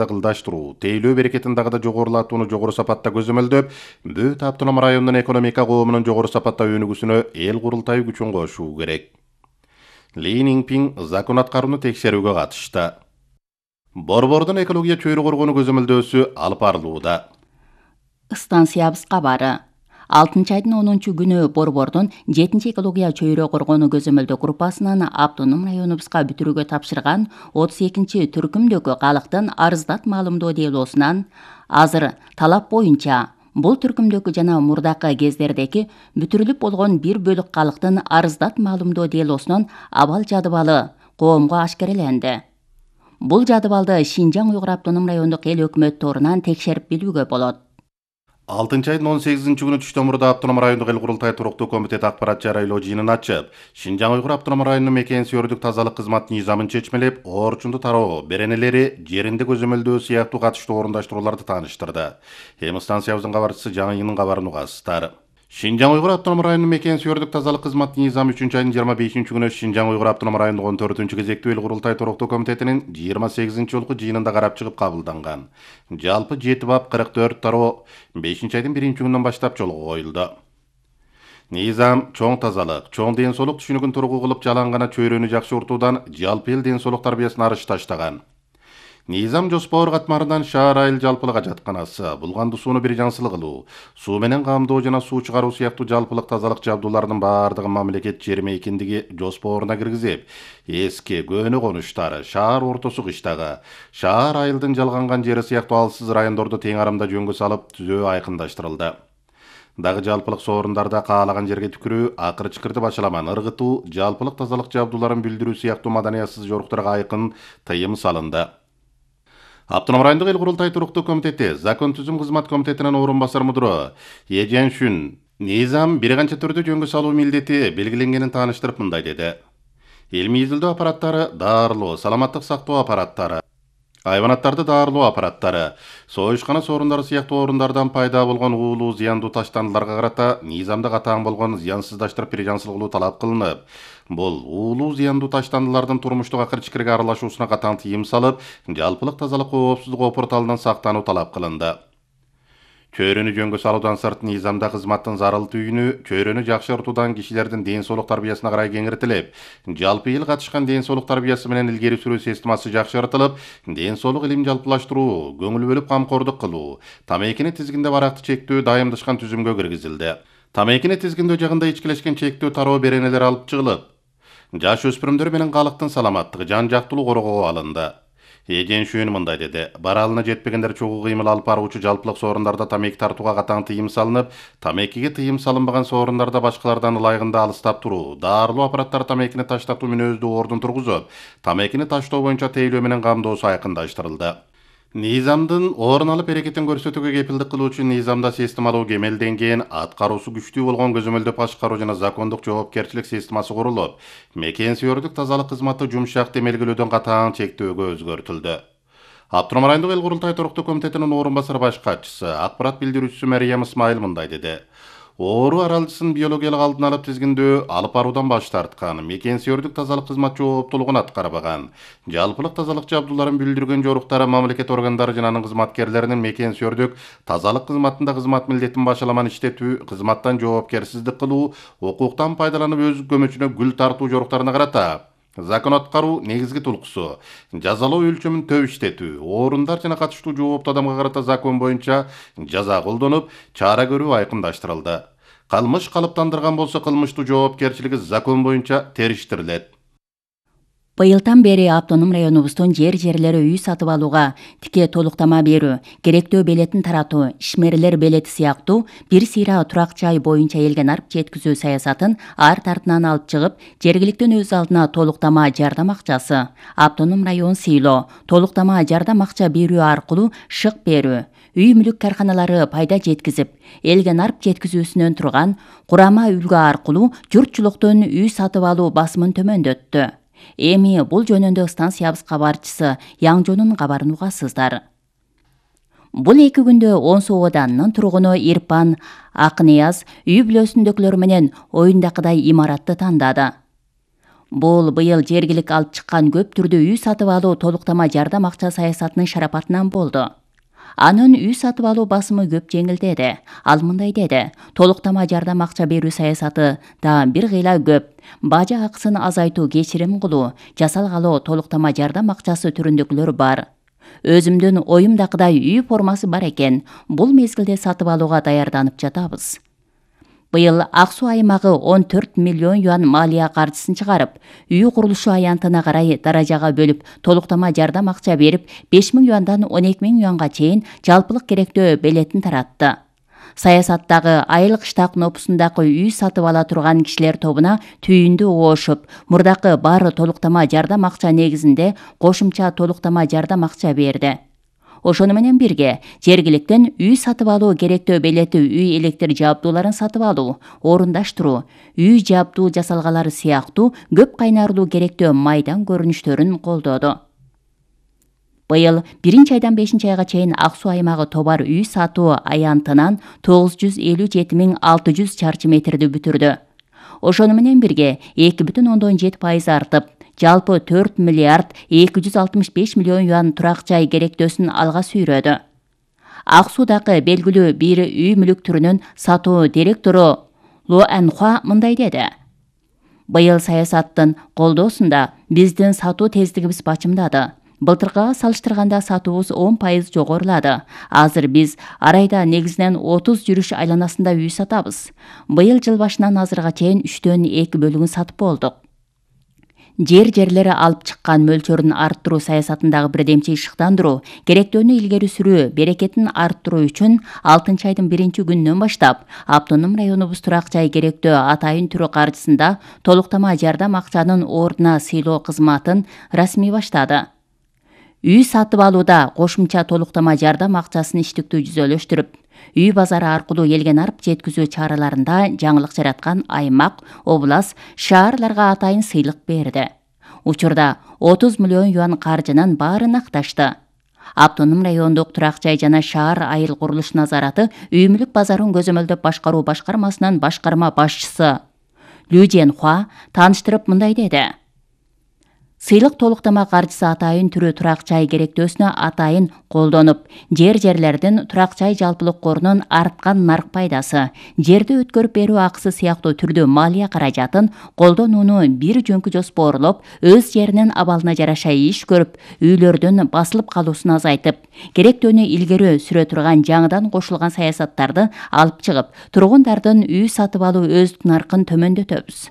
кылдаштыруу, тейлөө берекетин дагы да жогорулатууну жогору сапатта көзөмөлдөп, Бөт автономдук районунун экономика коомунун жогору сапатта өнүгүүсүнө эл курултайы күчүн кошуу керек. Ли Ниңпиң закон аткарууну текшерүүгө катышты. Борбордун экология чөйрө коргонуу көзөмөлдөөсү алып барылууда. Станциябыз кабары. 6-айдын 10-күнү Борбордун 7 экология чөйрө коргонуу көзөмөлдөө группасынын автоном районубузга бүтүрүүгө тапшырган 32 түркүмдөгү калктын арыздат маалымдоо делосунан азыр талап боюнча бул түркүмдөгү жана мурдакы кездердеги бүтүрүлүп болгон бир бөлүк калктын арыздат маалымдоо делосунун абал жадыбалы коомго ашкереленди. Бул жадыбалды Шинжаң Уйгур автоном райондук эл өкмөт торунан текшерип билүүгө болот. 6-айдын 18-күнү түштөн мурда автоном райондук эл курултай туруктуу комитети акпарат жарыялоо жыйынын ачып, Шинжаң Уйгур автоном районунун мекенсиөрдүк тазалык кызматынын низамын чечмелеп, оорчунду тароо, беренелери, жеринде көзөмөлдөө сыяктуу катыштуу орундаштырууларды тааныштырды. Эми станциябыздын кабарчысы Жаңыйынын кабарын угасыздар. Шинжаң Уйгур автоном районунун мекенсиөрдүк тазалык кызматынын низамы 3-айдын 25-күнү Шинжаң Уйгур автоном райондук 14-кезектүү эл курултай туруктуу комитетинин 28-жолку жыйынында карап чыгып кабылданган. Жалпы 7 бап 44 тароо 5-айдын 1-күнүнөн баштап жолго коюлду. Низам чоң тазалык, чоң ден соолук түшүнүгүн тургу кылып жалаң чөйрөнү жакшыртуудан жалпы эл ден соолук тарбиясына арыш таштаган. Низам жоспор катмарынан шаар айыл жалпылык ажатканасы, булганды сууну бир жаңсыл кылуу, суу менен камдоо жана суу чыгаруу сыяктуу жалпылык тазалык жабдууларынын бардыгын мамлекет жер мейкиндиги жоспоруна киргизип, эски көөнө конуштары, шаар ортосу кыштагы, шаар айылдын жалганган жери сыяктуу алсыз райондорду тең арамда жөнгө салып түзөө айкындаштырылды. Дагы жалпылык соорундарда каалаган жерге түкүрүү, акыр чыкырды башаламан ыргытуу, жалпылык тазалык жабдууларын билдирүү сыяктуу маданиятсыз жоруктарга айкын тыйым салынды. Автоном райондук эл курултай туруктуу комитети закон түзүм кызмат комитетинин орун басар мудуру Еженшүн низам бир канча түрдө жөнгө салуу милдети белгиленгенин тааныштырып мындай деди. Илмий изилдөө аппараттары, даарылоо, саламаттык сактоо аппараттары, айванаттарды даарылоо аппараттары, союшкана соорундары сыяктуу орундардан пайда болгон уулуу зыяндуу таштандыларга карата низамда катаң болгон зыянсыздаштырып бир жаңсыл кылуу талап кылынып, бул уулуу зыяндуу таштандылардын турмуштук акыр чикирге аралашуусуна катаң тыйым салып, жалпылык тазалык коопсуздук опурталынан сактануу талап кылынды. Чөйрөнү жөнгө салуудан сырт низамда кызматтын зарыл түйүнү чөйрөнү жакшыртуудан кишилердин ден соолук тарбиясына карай кеңиртилип, жалпы эл катышкан ден соолук тарбиясы менен илгери сүрүү системасы жакшыртылып, ден соолук илим жалпылаштыруу, көңүл бөлүп камкордук кылуу, тамекини тизгиндеп аракты чектөө дайымдашкан түзүмгө киргизилди. Тамекини тизгиндөө жагында ичкилешкен чектөө тароо беренелер алып чыгылып, жаш өспүрүмдөр менен калктын саламаттыгы, жан жактуулугу коргоого алынды. Еженшүн мындай деди. Баралына жетпегендер чогуу кыймыл алып баруучу жалпылык соорундарда тамеки тартууга катаң тыйым салынып, тамекиге тыйым салынбаган соорундарда башкалардан ылайыгында алыстап туруу, даарылоо аппараттары тамекини таштатуу мүнөздүү ордун тургузуп, тамекини таштоо боюнча тейлөө менен камдоосу айкындаштырылды. Низамдын орун алып эрекетин көрсөтүүгө кепилдик кылуучу низамда системалуу кемелденген, аткаруусу күчтүү болгон көзөмөлдөп башкаруу жана закондук жоопкерчилик системасы курулуп, мекенсиөрдүк тазалык кызматы жумшак демелгелөөдөн катаң чектөөгө өзгөртүлдү. Автоном райондук эл курултай туруктуу комитетинин орун басар баш катчысы, акпарат билдирүүчүсү Мариям Исмайыл мындай деди. Оору аралжысын биологиялык алдын алып тизгиндөө алып баруудан баш тарткан, мекенсиөрдүк тазалык кызмат жооптуулугун аткарбаган, жалпылык тазалык жабдууларын билдирген жоруктары мамлекет органдары жана анын кызматкерлеринин мекенсиөрдүк тазалык кызматында кызмат милдетин башаламан иштетүү, кызматтан жоопкерсиздик кылуу, укуктан пайдаланып өз көмөчүнө гүл тартуу жоруктарына карата закон аткаруу негизги тулкусу, жазалоо өлчөмүн төп иштетүү, орундар жана катыштуу жооптуу адамга карата закон боюнча жаза колдонуп, чара көрүү айкындаштырылды. Кылмыш калыптандырган болсо кылмыштуу жоопкерчилиги закон боюнча териштирилет. Быйылдан бери автоном районубуздун жерлери үй сатып алууга тике толуктама берүү, керектөө белетин таратуу, ишмерлер белети сыяктуу бир сыйра турак жай боюнча элге нарп жеткизүү саясатын ар тартынан алып чыгып, жергиликтен өз алдына толуктама жардам акчасы, автоном район сыйлоо, толуктама жардам акча берүү аркылуу шык берүү, үй мүлүк карканалары пайда жеткизип, элге нарп жеткизүүсүнөн турган курама үлгү аркылуу журтчулуктун үй сатып алуу басымын төмөндөттү. Эми бул жөнүндө станциябыз кабарчысы Яңжонун кабарын угасыздар. Бул 2 күндө Онсу ооданынын тургуну Ирпан Акнияз үй бүлөсүндөгүлөр менен оюндакыдай имаратты тандады. Бул быйыл жергилик алып чыккан көп түрдүү үй сатып алуу толуктама жардам акча саясатынын шарапатынан болду. Анын үй сатып алуу басымы көп жеңилдеди. Ал мындай деди: толуктама жардам акча берүү саясаты да бир кыйла көп. Бажа акысын азайтуу, кечирим кылуу, жасалгалоо толуктама жардам акчасы түрүндөгүлөр бар. Өзүмдүн оюмдакыдай үй формасы бар экен. Бул мезгилде сатып алууга даярданып жатабыз. Быйыл Ак Суу аймагы 14 миллион юан малия каржысын чыгарып, үй курулушу аянтына карай даражага бөлүп, толуктама жардам акча берип, 5 000 юандан 12 000 юанга чейин жалпылык керектөө белетин таратты. Саясаттагы айыл кыштак нопусундагы үй сатып ала турган кишилер тобуна түйүндү оошуп, мурдакы баары толуктама жардам акча негизинде кошумча толуктама жардам акча берди. Ошону менен бирге жергиликтен үй сатып алуу керектөө белети үй электр жабдууларын сатып алуу, орундаштыруу, үй жабдуу жасалгалары сыяктуу көп кайнарлуу керектөө майдан көрүнүштөрүн колдоду. Быйыл 1-айдан 5-айга чейин Ак Суу аймагы товар үй сатуу аянтынан 957 600 чарчы метрди бүтүрдү. Ошону менен бирге 2,7% артып, жалпы 4 миллиард 265 миллион юан турак жай керектөөсүн алга сүйрөдү. Ак Суудагы белгилүү бир үй мүлүк түрүнүн сатуу директору Ло Анхуа мындай деди: быйыл саясаттын колдоосунда биздин сатуу тездигибиз бачымдады. Былтыркыга салыштырганда сатуубуз 10% жогорулады. Азыр биз ар айда негизинен 30 жүрүш айланасында үй сатабыз. Быйыл жыл башынан азырга чейин 3/2 бөлүгүн сатып болдук. Жерлери алып чыккан мөлчөрүн арттыруу саясатындагы бирдемчи ышыктандыруу, керектөөнү илгери сүрүү берекетин арттыруу үчүн 6-айдын 1-күнүнөн баштап автоном районубуз турак жай керектөө атайын түрү каржысында толуктама жардам акчанын ордуна сыйлоо кызматын расмий баштады. Үй сатып алууда кошумча толуктама жардам акчасын иштиктүү жүзөлөштүрүп, үй базары аркылуу элген арып жеткизүү чараларында жаңылык жараткан аймак, область, шаарларга атайын сыйлык берди. Учурда 30 миллион юан каржынын баарын акташты. Автоном райондук турак жай жана шаар айыл курулуш назараты үй мүлүк базарын көзөмөлдөп башкаруу башкармасынын башкарма башчысы Лю Женхуа тааныштырып мындай деди: сыйлык толуктама каржысы атайын түрү турак жай керектөөсүнө атайын колдонуп, жерлердин турак жай жалпылык корунун арткан нарк пайдасы, жерди өткөрүп берүү акысы сыяктуу түрдүү малия каражатын колдонууну бир жөнкү жоспорлоп, өз жеринин абалына жараша иш көрүп, үйлөрдүн басылып калуусун азайтып, керектөөнү илгери сүрө турган жаңыдан кошулган саясаттарды алып чыгып, тургундардын үй сатып алуу өздүк наркын төмөндөтөбүз.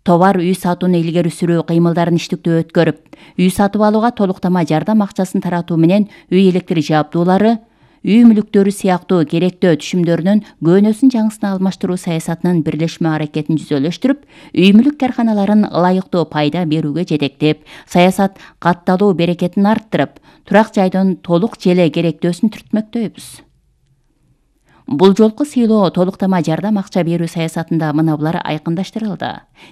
Товар үй сатууну илгери сүрүү кыймылдарын иштиктүү өткөрүп, үй сатып алууга толуктама жардам акчасын таратуу менен үй электр жабдуулары, үй мүлүктөрү сыяктуу керектөө түшүмдөрүнүн көөнөсүн жаңысына алмаштыруу саясатынын бирлешме аракетин жүзөлөштүрүп, үй мүлүк карканаларын ылайыктуу пайда берүүгө жетектеп, саясат катталуу берекетин арттырып, турак жайдын толук желе керектөөсүн түртмөктөйбүз. Бул жолку сыйлоо толуктама жардам акча берүү саясатында мына булар айкындаштырылды.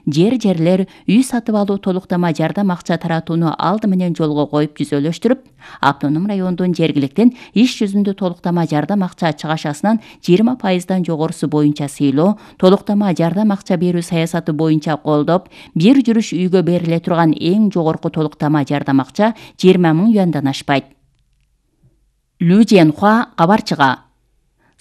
Жерлер үй сатып алуу толуктама жардам акча таратууну алды менен жолго коюп жүзөлөштүрүп, автоном райондун жергиликтен иш жүзүндө толуктама жардам акча чыгашасынан 20%дан жогорусу боюнча сыйлоо, толуктама жардам акча берүү саясаты боюнча колдоп, бир жүрүш үйгө бериле турган эң жогорку толуктама жардам акча 20 000 юандан ашпайт. Лю Женхуа кабарчыга: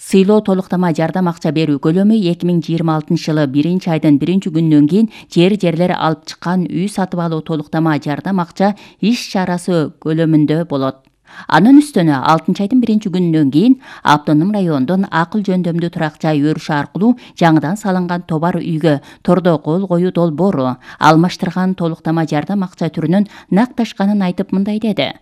сыйлоо толуктама жардам акча берүү көлөмү 2026 жылы 1-айдын 1-күнүнөн кийин жерлер алып чыккан үй сатып алуу толуктама жардам акча иш чарасы көлөмүндө болот. Анын үстүнө 6-айдын 1-күнүнөн кийин автоном райондун акыл жөндөмдүү турак жай өрүшү аркылуу жаңыдан салынган товар үйгө тордо кол коюу долбоору алмаштырган толуктама жардам акча түрүнүн накташканын айтып мындай деди: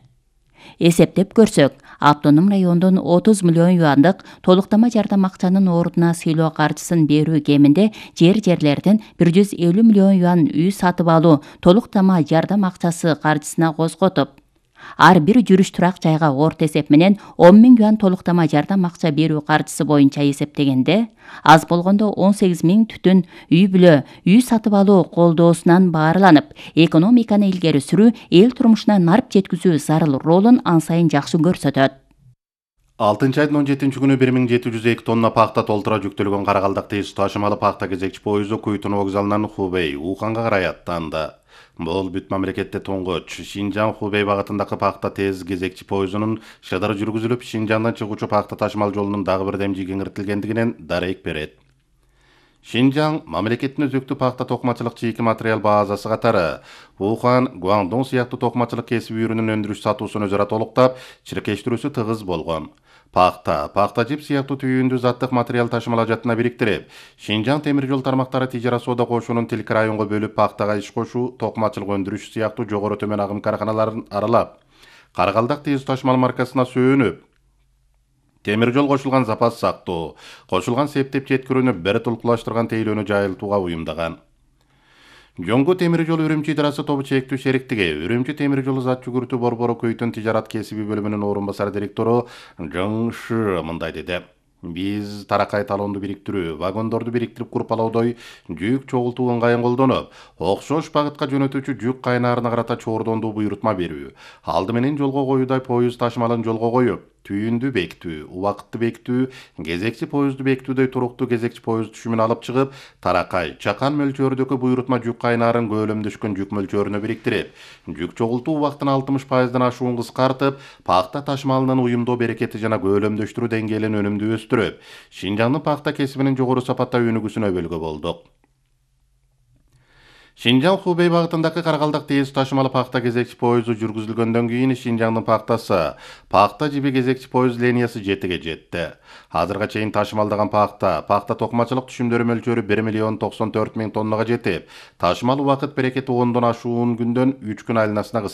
эсептеп көрсөк, автоном райондун 30 миллион юандык толуктама жардам акчанын ордуна сыйлоо каржысын берүү кеминде жерлердин 150 миллион юан үй сатып алуу толуктама жардам акчасы каржысына козготуп, ар бир жүрүш турак жайга орто эсеп менен 10 000 юан толуктама жардам акча берүү каржысы боюнча эсептегенде, аз болгондо 18 000 түтүн үй бүлө үй сатып алуу колдоосунан баарланып, экономиканы илгери сүрүү, эл турмушуна нарп жеткизүү зарыл ролун ан сайын жакшы көрсөтөт. 6 айдын 17 күнү 1702 тонна пахта толтура жүктөлгөн Каракалдак тез ташымалы пахта кезекчи поезду Куйтун вокзалынан Хубей, Уханга карай аттанды. Бул бүт мамлекетте туңгуч Шинжаң Хубей багытындагы пахта тез кезекчи поездунун шыдыр жүргүзүлүп, Шинжаңдан чыгуучу пахта ташымал жолунун дагы бир демжи кеңиртилгендигинен дарек берет. Шинжаң мамлекеттин өзөктүү пахта токмачылык чийки материал базасы катары Ухан, Гуандун сыяктуу токмачылык кесиби ürünүн өндүрүш сатуусун өзара толуктап, чиркештирүүсү тыгыз болгон. Пахта жип сыяктуу түйүндүү заттык материал ташымалажатына бириктирип, Шинжаң темир жол тармактары тижара соода кошуунун тилки районго бөлүп пахтага иш кошуу, токмачылык өндүрүш сыяктуу жогору төмөн агым карканаларын аралап, Каракалдак тез ташымал маркасына сөөнүп, темир жол кошулган запас сактоо, кошулган септеп жеткирүүнү бир тулкулаштырган тейлөөнү жайылтууга уюмдаган. Жоңго темир жол Үрүмчү идарасы тобу чектүү шериктиги Үрүмчү темир жолу зат жүгүртүү борбору Көйтөн тижарат кесиби бөлүмүнүн орун басары директору Жың Шы мындай деди. Биз таракай талонду бириктирүү, вагондорду бириктирип курпалоодой жүк чогултуу ыңгайын колдонуп, окшош багытка жөнөтүүчү жүк кайнаарына карата чордондуу буйрутма берүү, алды менен жолго коюудай поезд ташымалын жолго коюп, түйүндү бекитүү, убакытты бекитүү, кезекчи поездду бекитүүдөй туруктуу кезекчи поезд түшүмүн алып чыгып, таракай, чакан мөлчөрүдөгү буйрутма жүк кайнаарын көөлөмдөшкөн жүк мөлчөрүнө бириктирип, жүк чогултуу убактын 60%-дан ашуун кыскартып, пахта ташымалынын уюмдоо берекети жана көөлөмдөштүрүү деңгээлин өнүмдүү өстүрүп, Шинжаңдын пахта кесибинин жогору сапатта өнүгүүсүнө өбөлгө болдук. Шинжаң Хубей багытындагы Каракалдак тез ташымалы пахта кезекчи поезду жүргүзүлгөндөн кийин Шинжаңдын пахта жиби кезекчи поезд линиясы 7ге жетти. Азырга чейин ташымалдаган пахта токмачылык түшүмдөрү мөлчөрү 1,094,000 тоннага жетип, ташымал убакыт берекети 10дон ашуун күндөн 3 күн айланасына